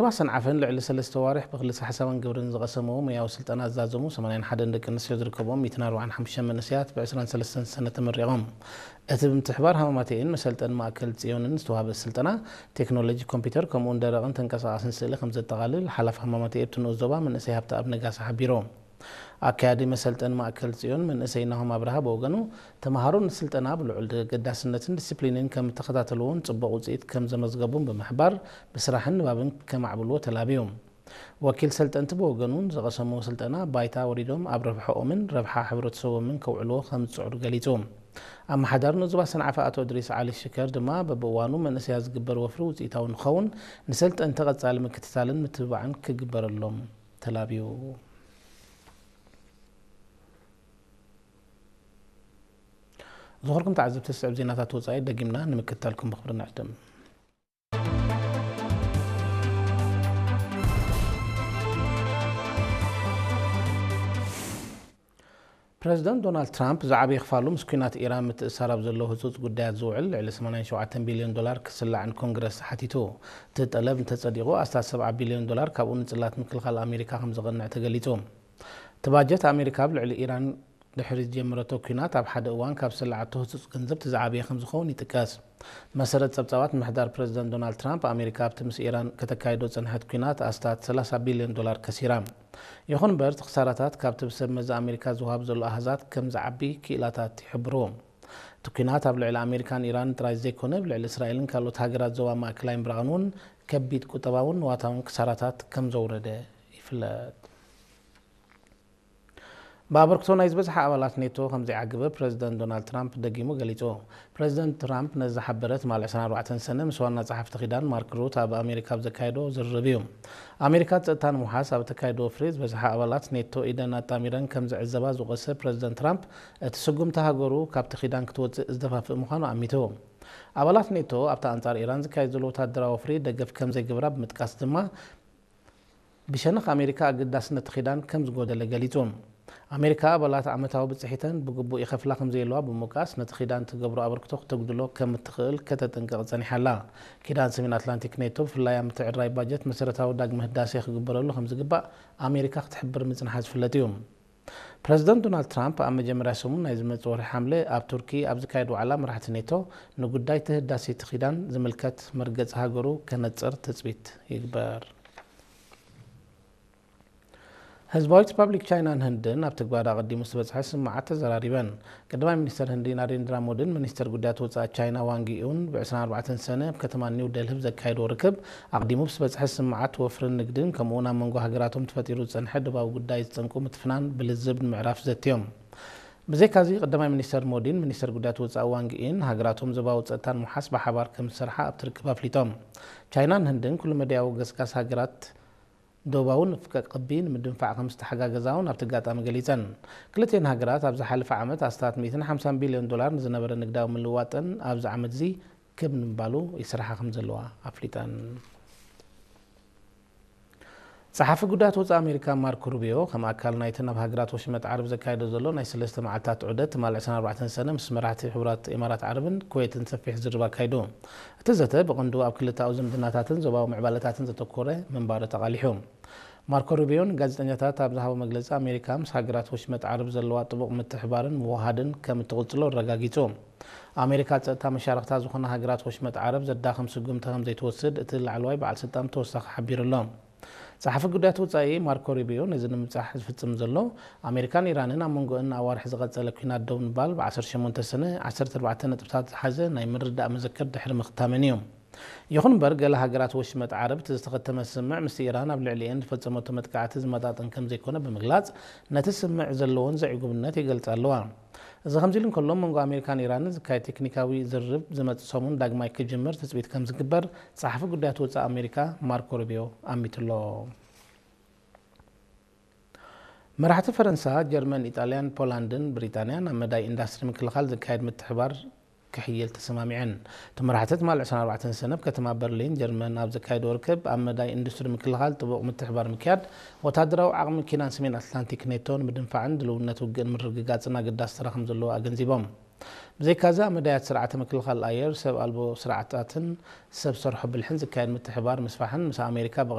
ዞባ ሰንዓፈን ልዕሊ ሰለስተ ዋርሕ ብክልሰ ሓሳባን ግብርን ዝቐሰምዎ ሞያዊ ስልጠና ዝዛዘሙ ሰማንያን ሓደን ደቂ ኣንስትዮ ዝርከብዎም ሚእትን ኣርባዓን ሓሙሽተን መንእሰያት ብ ዕስራን ሰለስተን ሰነ ተመሪቖም። እቲ ብምትሕባር ሃማማተኤን መሰልጠኒ ማእከል ጽዮንን ዝተዋህበ ስልጠና፣ ቴክኖሎጂ ኮምፒውተር ከምኡውን ደረቕን ተንቀሳቓስን ስእሊ ከም ዘጠቓልል ሓላፊ ሃማማተኤ ኣብቲ ንኡስ ዞባ መንእሰይ ሃብተኣብ ነጋሲ ሓቢሩ። ኣካያዲ መሰልጠኒ ማእከል ጽዮን መንእሰይ ናሆም ኣብርሃ ብወገኑ፣ ተምሃሮ ንስልጠና ብልዑል ተገዳስነትን ዲስፕሊንን ከም እተኸታተልዎን ጽቡቕ ውጽኢት ከም ዘመዝገቡን ብምሕባር፣ ብስራሕን ንባብን ከማዕብልዎ ተላብዩ። ወኪል ሰልጠንቲ ብወገኑ፣ ዝቐሰምዎ ስልጠና ባይታ ወሪዶም ኣብ ረብሓኦምን ረብሓ ሕብረተሰቦምን ከውዕልዎ ከም ዝጽዕሩ ገሊጹ። ኣመሓዳሪ ንኡስ ዞባ ሰንዓፈ ኣቶ እድሪስ ዓሊ ሽከር ድማ፣ በብእዋኑ መንእሰያት ዝግበር ወፍሪ ውጽኢታዊ ንክኸውን ንሰልጠንቲ ቀጻሊ ምክትታልን ምትብባዕን ክግበረሎም ተላብዩ። ዝኸበርኩም ተዓዘብቲ፣ ዝስዕብ ዜናታት ወጻኢ ደጊምና ንምክትታልኩም ብኽብሪ ንዕድም። ፕረዚደንት ዶናልድ ትራምፕ ዝዓበየ ክፋሉ ምስ ኲናት ኢራን ምትእስሳር ኣብ ዘለዎ ህጹጽ ጉዳያት ዝውዕል ልዕሊ ሰማንያን ሸውዓተን ቢልዮን ዶላር ክስላዕ ንኮንግረስ ተሓቲቱ። እቲ ጠለብ እንተጸዲቑ፣ ኣስታት ሰብዓ ቢልዮን ዶላር ካብኡ ንጽላት ምክልኻል ኣሜሪካ ከም ዘቐንዕ ተገሊጹ። እቲ ባጀት ኣሜሪካ ኣብ ልዕሊ ኢራን ድሕሪ ዝጀመረቶ ኲናት ኣብ ሓደ እዋን ካብ ዝስለዓቶ ህጹጽ ገንዘብ እቲ ዝዓበየ ከም ዝኸውን ይጥቀስ። መሰረት ጸብጻባት ምሕዳር ፕረዚደንት ዶናልድ ትራምፕ፣ ኣሜሪካ ኣብቲ ምስ ኢራን ከተካይዶ ዝጸንሐት ኲናት ኣስታት ሰላሳ ቢልዮን ዶላር ከሲራ። ይኹን እምበር፣ እቲ ክሳራታት ካብቲ ብሰብ መዚ ኣሜሪካ ዝወሃብ ዘሎ ኣሃዛት ከም ዝዓቢ ክኢላታት ይሕብሩ። እቲ ኲናት ኣብ ልዕሊ ኣሜሪካን ኢራንን ጥራይ ዘይኮነ፣ ኣብ ልዕሊ እስራኤልን ካልኦት ሃገራት ዞባ ማእከላይ ምብራቕን እውን ከቢድ ቁጠባውን ንዋታውን ክሳራታት ከም ዘውረደ ይፍለጥ። ብኣበርክቶ ናይ ዝበዝሓ ኣባላት ኔቶ ከም ዘይዓገበ ፕረዚደንት ዶናልድ ትራምፕ ደጊሙ ገሊጹ። ፕረዚደንት ትራምፕ ነዚ ዝሓበረ ትማሊ ዕስራን ኣርባዕተን ሰነ ምስ ዋና ጸሓፍቲ ኪዳን ማርክ ሩት ኣብ ኣሜሪካ ኣብ ዘካየዶ ዝርርብ እዩ። ኣሜሪካ ጸጥታ ንምውሓስ ኣብ እተካየዶ ወፍሪ ዝበዝሓ ኣባላት ኔቶ ኢደን ኣጣሚረን ከም ዝዕዘባ ዝወቀሰ ፕረዚደንት ትራምፕ፣ እቲ ስጉምቲ ሃገሩ ካብቲ ኪዳን ክትወጽእ ዝደፋፍእ ምዃኑ ኣሚቱ። ኣባላት ኔቶ ኣብቲ ኣንጻር ኢራን ዝካየድ ዘሎ ወታደራዊ ወፍሪ ደገፍ ከም ዘይገብራ ብምጥቃስ ድማ፣ ብሸነኽ ኣሜሪካ ኣገዳስነት ኪዳን ከም ዝጎደለ ገሊጹ። ኣሜሪካ ኣባላት ዓመታዊ ብጽሒተን ብግቡእ ይኸፍላ ከም ዘየለዋ ብምውቃስ፣ ነቲ ኪዳን ትገብሮ ኣበርክቶ ክተጉድሎ ከም እትኽእል ከተጠንቅቕ ጸኒሓ ኣላ። ኪዳን ሰሜን ኣትላንቲክ ኔቶ ብፍላይ ኣብ ምትዕርራይ ባጀት መሰረታዊ ዳግመ ህዳሴ ክግበረሉ ከም ዝግባእ ኣሜሪካ ክትሕብር ምጽንሓ ዝፍለጥ እዩ። ፕረዚደንት ዶናልድ ትራምፕ ኣብ መጀመርያ ሰሙን ናይ ዝመጽእ ወርሒ ሓምለ ኣብ ቱርኪ ኣብ ዝካየድ ዋዕላ መራሕቲ ኔቶ ንጉዳይ እቲ ህዳሴ እቲ ኪዳን ዝምልከት መርገጺ ሃገሩ ከነጽር ትጽቢት ይግበር። ህዝባዊት ሪፓብሊክ ቻይናን ህንድን ኣብ ትግባር ኣቐዲሙ ዝተበጽሐ ስምምዓት ተዘራሪበን። ቀዳማይ ሚኒስተር ህንዲ ናሬንድራ ሞዲን ሚኒስተር ጉዳያት ወጻኢ ቻይና ዋንግ ዪን ብ ዕስራን ኣርባዕተን ሰነ ኣብ ከተማ ኒው ደልሂ ብዘካየድዎ ርክብ፣ ኣቐዲሙ ብዝተበጽሐ ስምምዓት ወፍርን ንግድን ከምኡ'ውን ኣብ መንጎ ሃገራቶም ተፈጢሩ ዝጸንሐ ዶባዊ ጉዳይ ዝጸንቁ ምትፍናን ብልዝብ ንምዕራፍ ዘትዮም። ብዘይካዚ፣ ቀዳማይ ሚኒስተር ሞዲን ሚኒስተር ጉዳያት ወጻኢ ዋንግ ዪን ሃገራቶም ዞባዊ ጸጥታ ንምውሓስ ብሓባር ከም ዝሰርሓ ኣብቲ ርክብ ኣፍሊጦም። ቻይናን ህንድን ኩሉ መዳያዊ ገስጋስ ሃገራት ዶባዊ ንፍቀ ክቢ ንምድንፋዕ ከም ዝተሓጋገዛ እውን ኣብቲ ኣጋጣሚ ገሊጸን። ክልቲኤን ሃገራት ኣብ ዝሓለፈ ዓመት ኣስታት ሚእትን ሓምሳን ቢልዮን ዶላር ንዝነበረ ንግዳዊ ምልውዋጠን ኣብዚ ዓመት እዚ ክብ ንምባሉ ይስርሓ ከም ዘለዋ ኣፍሊጠን። ጸሓፊ ጉዳያት ወጻኢ ኣሜሪካ ማርኮ ሩቢዮ፣ ከም ኣካል ናይቲ ናብ ሃገራት ወሽመጥ ዓረብ ዘካየዶ ዘሎ ናይ ሰለስተ መዓልታት ዑደት፣ ትማሊ ዕስራን ኣርባዕተን ሰነ ምስ መራሕቲ ሕቡራት ኢማራት ዓረብን ኩዌትን ሰፊሕ ዝርርብ ኣካይዱ። እቲ ዘተ ብቐንዱ ኣብ ክልተኣዊ ዝምድናታትን ዞባዊ ምዕባለታትን ዘተኮረ ምንባሩ ተቓሊሑ። ማርኮ ሩቢዮ ንጋዜጠኛታት ኣብ ዝሃቦ መግለጺ፣ ኣሜሪካ ምስ ሃገራት ወሽመጥ ዓረብ ዘለዋ ጥቡቕ ምትሕባርን ምውህሃድን ከም እትቕጽሎ ኣረጋጊጹ። ኣሜሪካ ጸጥታ መሻርኽታ ዝኾና ሃገራት ወሽመጥ ዓረብ ዘዳኽም ስጉምቲ ከም ዘይትወስድ እቲ ላዕለዋይ በዓል ስልጣን ብተወሳኺ ሓቢሩ ኣሎ። ጸሓፊ ጉዳያት ወጻኢ ማርኮ ሩቢዮ ነዚ ንምብጻሕ ዝፍጽም ዘሎ፣ ኣሜሪካን ኢራንን ኣብ መንጎኣን ንኣዋርሕ ዝቐጸለ ኲናት ደው ንምባል ብ ዓሰርተ ሸሞንተ ሰነ ዓሰርተ ኣርባዕተ ነጥብታት ዝሓዘ ናይ ምርድዳእ መዘክር ድሕሪ ምኽታመን እዩ። ይኹን እምበር፣ ገለ ሃገራት ወሽመጥ ዓረብ እቲ ዝተኸተመ ስምምዕ ምስቲ ኢራን ኣብ ልዕሊኤን ዝፈጸመቶ መጥቃዕቲ ዝመጣጠን ከም ዘይኮነ ብምግላጽ፣ ነቲ ስምምዕ ዘለወን ዘዕጉብነት ይገልጻ ኣለዋ። እዚ ከምዚ ኢሉ እንከሎ፣ መንጎ ኣሜሪካን ኢራንን ዝካየድ ቴክኒካዊ ዝርርብ ዝመጽእ ሰሙን ዳግማይ ክጅምር ትጽቢት ከም ዝግበር ጸሓፊ ጉዳያት ወጻኢ ኣሜሪካ ማርኮ ሩቢዮ ኣሚቱ ኣሎ። መራሕቲ ፈረንሳ፣ ጀርመን፣ ኢጣልያን፣ ፖላንድን ብሪጣንያን ኣብ መዳይ ኢንዳስትሪ ምክልኻል ዝካየድ ምትሕባር ክሕይል ተሰማሚዐን። እቲ መራሕቲ ትማሊ ዕስራን ኣርባዕተን ሰነ ኣብ ከተማ በርሊን ጀርመን ኣብ ዘካየድዎ ርክብ፣ ኣብ መዳይ ኢንዱስትሪ ምክልኻል ጥቡቕ ምትሕባር ምክያድ፣ ወታደራዊ ዓቕሚ ኪዳን ሰሜን ኣትላንቲክ ኔቶ ንምድንፋዕን ድልውነት ውግእን ምርግጋጽን ኣገዳሲ ተራ ከም ዘለዎ ኣገንዚቦም። ብዘይካዚ፣ ኣብ መዳያት ስርዓተ ምክልኻል ኣየር፣ ሰብ ኣልቦ ስርዓታትን ሰብ ሰርሖ ብልሕን ዝካየድ ምትሕባር ምስፋሕን ምስ ኣሜሪካ ብቐረባ